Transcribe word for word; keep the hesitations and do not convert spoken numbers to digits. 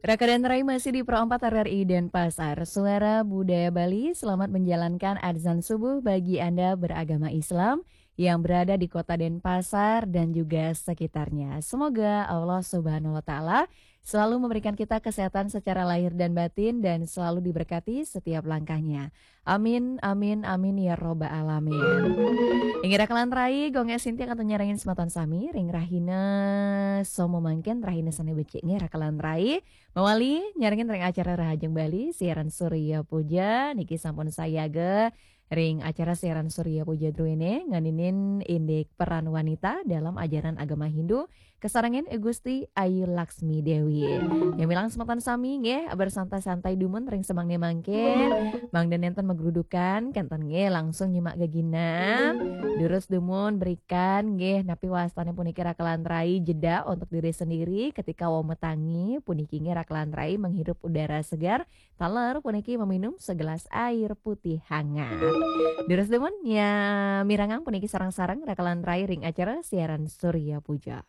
Raka dan Rai masih di Pro empat R R I Denpasar. Suara Budaya Bali, selamat menjalankan azan subuh bagi Anda beragama Islam yang berada di kota Denpasar dan juga sekitarnya. Semoga Allah Subhanahu wa Ta'ala selalu memberikan kita kesehatan secara lahir dan batin dan selalu diberkati setiap langkahnya. Amin, amin, amin ya robbal alamin. Inggih raka lan rai, Gung Sinti kantun nyarengin semeton sami ring rahina Somo mangkin, rahina sane becik nggih raka lan rai. Mawali nyarengin ring acara Rahajeng Bali, siaran Surya Puja niki sampun sayaga ring acara siaran Surya Puja druene ngeninin indik peran wanita dalam ajaran agama Hindu, kasarengin I Gusti Ayu Laksmi Dewi. Nyamilang semeton sami nggih, bersantai-santai dumun ring semangne mangkin. Mangda nenten magrudukan, kenten nggih langsung nyimak geginam. Durus dumun berikan nggih, napi wastane puniki raka lan rai, jeda untuk diri sendiri ketika wau metangi, puniki nggih raka lan rai menghirup udara segar, taler puniki meminum segelas air putih hangat. Durus dumun ya, mirengang puniki sareng-sareng raka lan rai ring acara siaran Surya Puja.